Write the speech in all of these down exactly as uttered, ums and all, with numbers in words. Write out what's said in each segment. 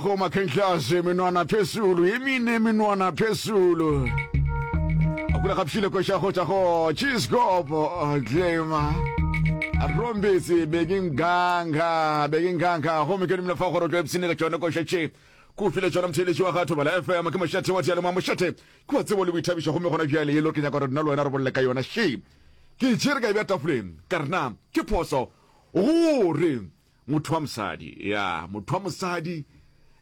Go makhenhlase menwana phezulu emine menwana phezulu akula gapšile koša go tša go cheesecop claima rombetse bekinganga bekinganga gomme ke dumela fa gore o tlo epsene ka tšone koša tše ko file tšona motheeletši wa ga Thobela F M ke mošate wa diyalemoya mošate ke wa tsebo le boithabišo gomme gona bjale yelo ke nyaka gore nna le wena re bolele ka yona še ke tšere ka e bja tafoleng ka re na ke phoso gore Motho wa mosadi, ya, motho wa mosadi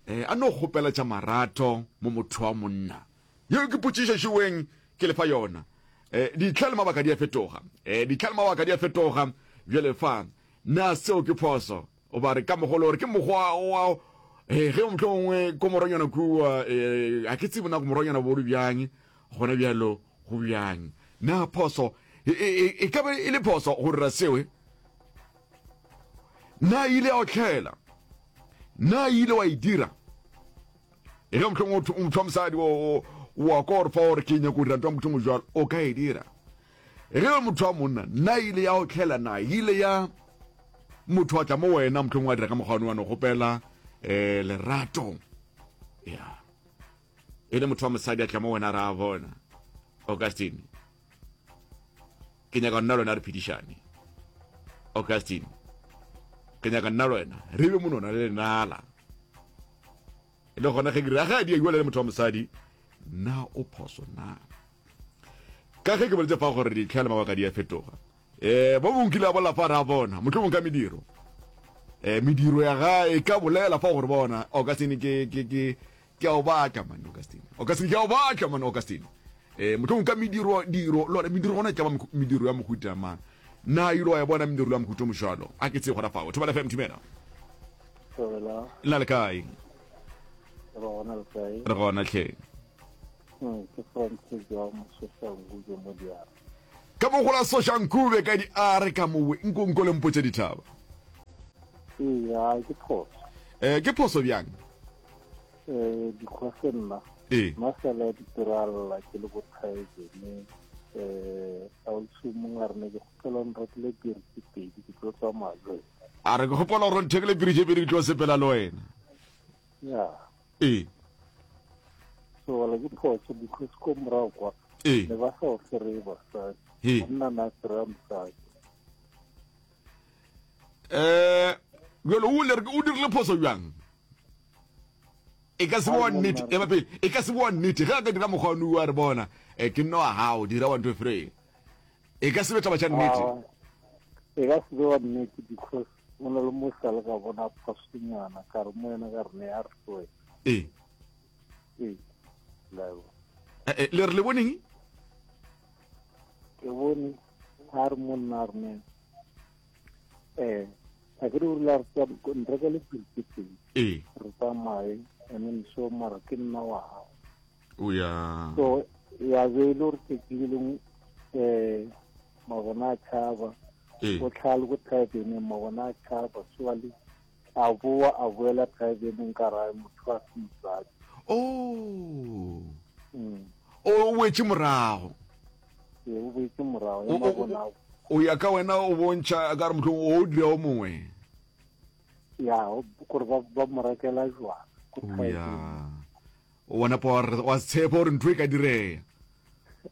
eh, a no kgopela tša marato mo motho wa monna. Yeo ke potšišo šiweng ke lefa yona. Eh, ditlha le mabaka di a fetoga. Eh, ditlha le mabaka di a fetoga. Bjale fa, na seo ke phoso? Goba re ka mogolo gore ke mokgwa wa eh, ge mohlomongwe ko moronyana kua, eh, a ke tsebe na ko moronyana bo le bjang, gona bjalo go bjang. Na phoso e, e, e, e ka be e le phoso go dira seo? Eh? Na e ile ya otlhela? Na e ile wa e dira? E ge mohlomongwe motho wa mosadi wa kwa gore fa gore ke nyako dira ntho ya motho mojalo, o ka e dira. E ge motho wa monna, na e ile ya otlhela? Na e ile ya motho wa tla mo wena mohlomongwe wa dira ka mokgwa wa no kgopela um lerato? Ya e le motho wa mosadi a tla mo wena ra bona Augustine, ke nyaka nna le wena re phedišane. Augustine, ke nyaka nna le wena re be monona le lenala. E le gona ge ke re ga di le motho wa mosadi, na o phoso na? Ka ge ke boletse fa gore ditlha le mabaka di a fetoga. Eh, bo mongwe kile a bolela fa ra bona, mohlomong ka mediro. Eh, mediro ya ga e ka bolela fa gore bona Augustine ke ke ke ke a o batla man Augustine. Augustine ke a o batla man Augustine. Eh, mohlomong ka mediro diro lona mediro gona e tla ba mediro ya mohuta mang. Na ile wa e bona mediro ya mohuta o mojalo? A ke tsebe gona fao. Thobela F M Thumela. Thobela. La le kae? Re gona le kae? Re gona tlhe. Hmm, ke Francis wa Mososhankube mo diare. Ka mo gola Soshankube ka di are ka mowe nko nko le mpotse dithaba. Ee, a ke phoso. Eh, ke phoso bjang? Eh, dikgwese nna. Ee. Masala ditiralla ke le bothaebene. Eh, a o mongwe a re ne ke kgopela nrekele piri tse pedi ke tlo tsamaya le wena. A re ke kgopela gore nthekele piri tse pedi ke tlo sepela le wena. Ya. Ee. So wala ke phoso because ko morago kwa. Ee. Ne ba sa o fereye basadi. Ee. Monna na fereya mosadi. Eh, bjalo o le o dirile phoso bjang? E ka se bo nnete, e ba pele, e ka se bo nnete ge a ka dira mokgwa wa re bona, eh, ke nna wa gago, dira one two three. E ka se be taba tša nnete. E ka se be wa nnete because o na le mo sa le ka bona phosonyana ka re mo yena ka re ne a re tloe. Ee. Ee. Lebo. Eh, le re le boneng? Ke bone a re monna a re ne eh a ke re o rile a re nreka le piri tse pedi. Ee. Re tsamaye and then so mara ke nna wa gago. O ya. So ya be e le gore tsatsi le lengwe eh mabona a tšhaba. Ee. O tlhale ko thabeneng mabona a tšhaba so a le a boa a boela thabeneng ka rae motho a se mosadi. Oh. Mm. O boetše morago. Ee, o boetše morago O- o- mabona o- O ya ka wena o bontšha ka re mohlomong o dira o mongwe. Ya, gore ba ba mo rekela jwala ko O ya. thabeneng. O bona pa wa tshepa gore ntho e ka direya.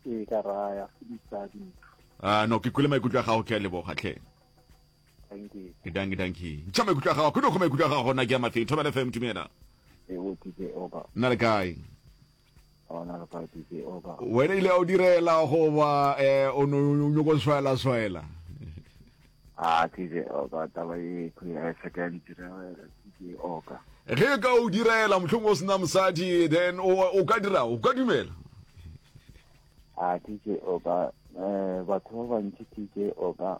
Ee, ka raya se mosadi ntho. Ah, no, ke kwele maikutlo a gago, ke a leboga tlhe. Thank you. Danki, danki. Ntšha maikutlo a gago, ke no go maikutlo a gago gona ke a mafeng. Thobela F M Thumela. E o D J Oba. Nna le kae? Ona le kae D J Oba? Wena ile o direla goba eh o no nyoko swaela swaela? Ah, D J Oba, taba e ke ya se ka ntirela D J Oba. Ge ka o direla mohlomong o sena mosadi then o o ka dira, o ka dumela? Ah, D J Oba, eh batho ba bantši D J Oba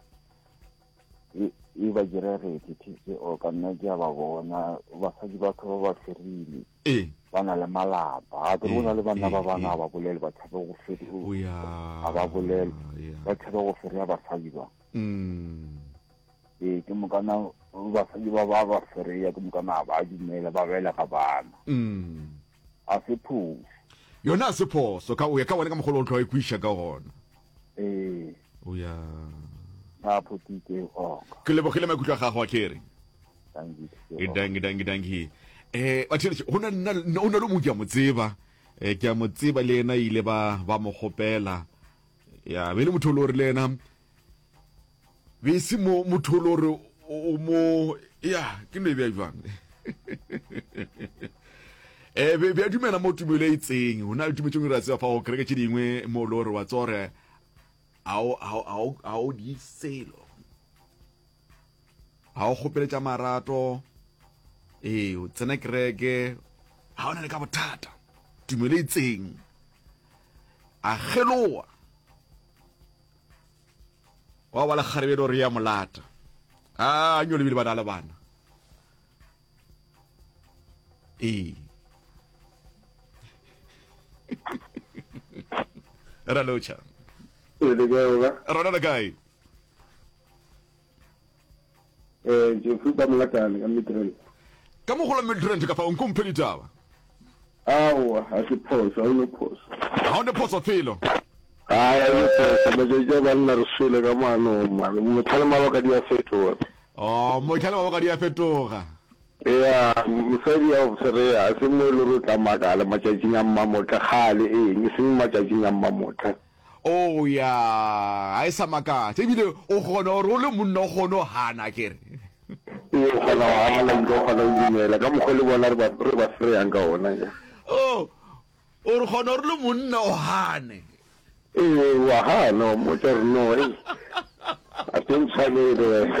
e e ba diregetse D J Oba, nna ke a ba bona basadi batho ba ba ferile. Ee. Ba na le malapa. A ke bona le banna ba bana ba bolele ba tshabe go fere. O ya. A ba bolele. Ba tshabe go ferea basadi ba. Mm. Ee, ke mokana basadi ba ba ba ferea ke mokana ba dumela ba belega bana. Mm. A se phoso. Yona a se phoso ka o ya ka wena ka mogolo o tlo e kwiša ka gona. Ee. O ya. A photike oka. Ke lebogile maikutlo a gago a kere. Thank you. Danki, danki, danki. Eh batheletše go na nna o na le mongwe ke a mo tseba. Eh ke a mo tseba le yena ile ba ba mo kgopela. Ya be le motho o le gore le yena be se mo motho o le gore o mo ya ke no e bea jwang. Eh be be a dumela mo tumelo e itseng. Ho na le tumelo tše dingwe re a tseba fa go kereke tše dingwe mo le gore wa tseba gore a o a o a o di selo. Ga o kgopele tša marato, ee, o tsena kereke, ga o na le ka bothata, tumelo e itseng, a kgeloa, wa ba le kgarebe le gore ya molata, a nyo lebile ba na le bana. Ee. Ra lotšha. Rona le kae? Eh, Jeffrey ka Molakane ka Midrand. Ka mogola Midrand ka fa o nkomphe ditaba. Aowa, ga se phoso, ga o ne phoso. Ga o ne phoso felo. Ai, ga o ne phoso, matšatši a banna re swele ka maanong, man. Motlha le mabaka di a fetoga. Oh, motlha le mabaka di a fetoga. Ea, mosadi ya go fereya, ga se mo e le gore o tla makala matšatšing a mmamotla, kgale, eng, e seng matšatšing a mmamotla. Oh ya, ga e sa makatša. Ebile o kgona gore o le monna o kgone go gana akere. Ee, o kgona go gana ebile o kgona go dumela ka mokgwa le bona re ba re ba freyang ka ona. Oh, o re kgona gore le monna o gane. Ee, wa gana wa mmotša gore no, ei, ga se ntshwanele wena.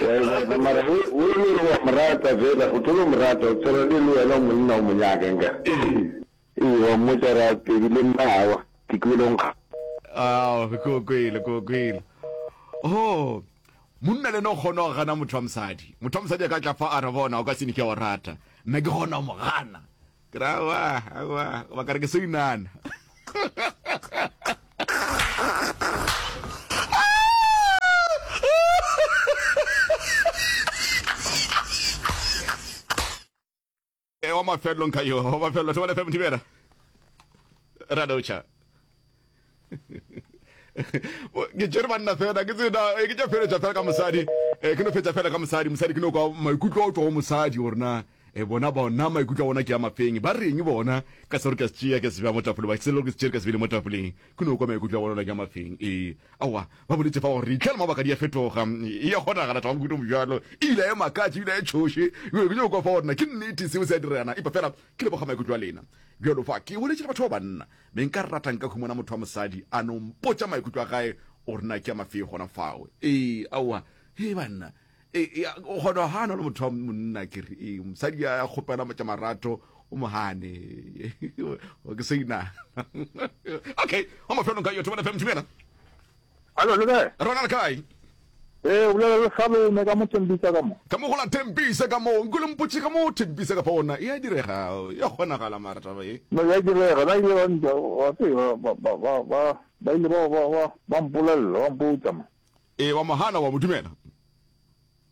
Wa e bona, mara o o e le gore wa mo rata fela, o tlo no mo rata, o tshwana le le wena o monna o mo nyaka nka. Ee, wa mmotša ra pedi le nna awa, ke kwele o nkga. Ao, ke o kwele, ke o kwele. Oh, monna le ena o kgona go gana motho wa mosadi. Motho wa mosadi a ka tla fa a re bona o ka se ne ke a o rata. Nna ke kgona go mo gana. Ke re aowa, aowa, goba ka re ke so inana. E wa mafelelo nka yo, wa mafelelo Thobela F M Thibela. Radotšha. Ke tšere banna fela ke tsena eh, ke tša feletša fela ka mosadi eh, ke no fetša fela ka mosadi mosadi ke no kwa maikutlo a o tšwa go mosadi gore na eh, bona bona maikutlo a bona ke a mafeng ba reng bona ka se gore ke se tšea ke se bea mo tafoleng ba se ke se tšere ka se beile mo tafoleng ke no kwa maikutlo a bona ke a mafeng ee aowa ba boletše fa gore ditlha le mabaka di a fetoga e ya kgonagala taba mohuta bjalo e ile ya makatše ebile ya tšhoše ke nyako kwa fa gore na ke nnete seo se a dirana epa fela ke leboga maikutlo a lena bjalo fa ke boletše le batho ba banna me nka rata nka humana motho wa mosadi a no mpotša maikutlo a gae gore na ke a mafee gona fao ee aowa he banna ee o kgona go gana le motho wa monna ke re ee mosadi a kgopela tša marato o mo gane ke se ina okay wa mafelong ka yo Thobela F M Thibela. Hallo, le kae? Rona le kae? Ee, o bolela le Salome ka mo Tembisa ka mo. Ka mo go la Tembisa ka mo. Nko le mpotše ka mo Tembisa ka fa ona e a direga, ya kgonagala mara taba e. No ya direga, ba ile ba ntša, wa tseba, ba ba ba ba ba ile ba ba ba ba mpolelela, ba mpotša mo. Ee, wa mo gana, wa mo dumela.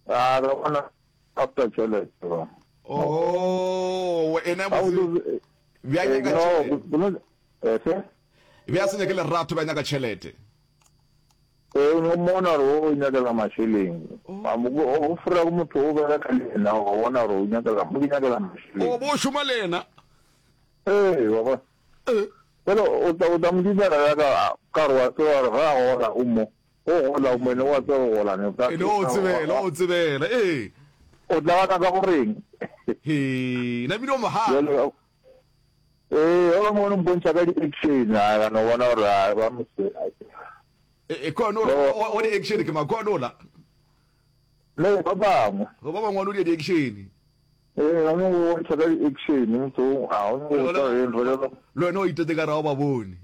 A ka bona after tšhelete ba. Oh, ena botse. Bja nyaka tšhelete. Efe? Bja se nyake lerato, bja nyaka tšhelete. Ee, o no mmona gore o nyakela mašeleng. O fora go motho o bereka le yena, wa bona gore o nyakela, o nyakela mašeleng. O bo šoma le yena. Ee, wa bona. Ee. Fela o tla o tla mo dumela ya ka ka gore wa tseba gore ga a gola o mo. O gola o mo ene wa tseba go gola ne. Ene o tsebela, o tsebela. Ee. O tla gana ka goreng? He, na bile o mo gana. Ee, ba bangwe ba no mpontšha ka di-action, a ka no bona gore a ba mo se. E kone o o di-action ke makone ola. Le ba bangwe. Go ba bangwe o di di-action. Ee, ba no bontšha ka di-action, motho a o no tsa eng re le. Le wena o itete ka ra o ba bone.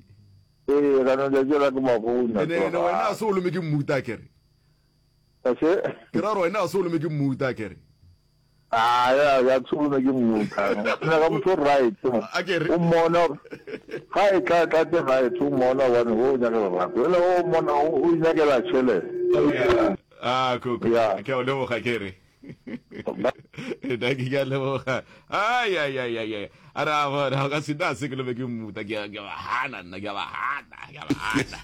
Ee, ka no tšatši la ke ba bone. Ene ene wena a se o lome ke mmuta kere. Ase? Ke ra gore wena a se o lome ke mmuta kere. Ah, ya, ya tsholo ke mmuta. Nna ka motho right. A ke re. O mmona ga e tla tla te right o mmona bane o nyakela rato. Ele o mmona o nyakela tšhelete. Ah, ko ko. Ke o leboga ke re. Nna ke a leboga. Ai ai ai ai ai. A re a bona ka se na se ke lebe ke mmuta ke ke ba hana nna ke ba hana ke ba hana.